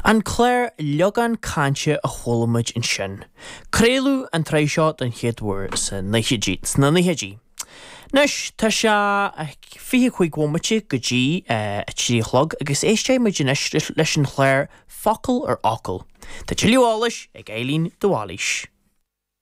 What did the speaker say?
An clár Liogán Cainte a chuala muid ansin. Craoladh an tsraith seo den chéad uair sna nóchaidí. Anois, tá sé 25 bhomaite go dtí a 3 a chlog agus éistfidh muid anois leis an chlár Focal ar Fhocal. Tá tuilleadh eolais ag Eileen de Bhailís.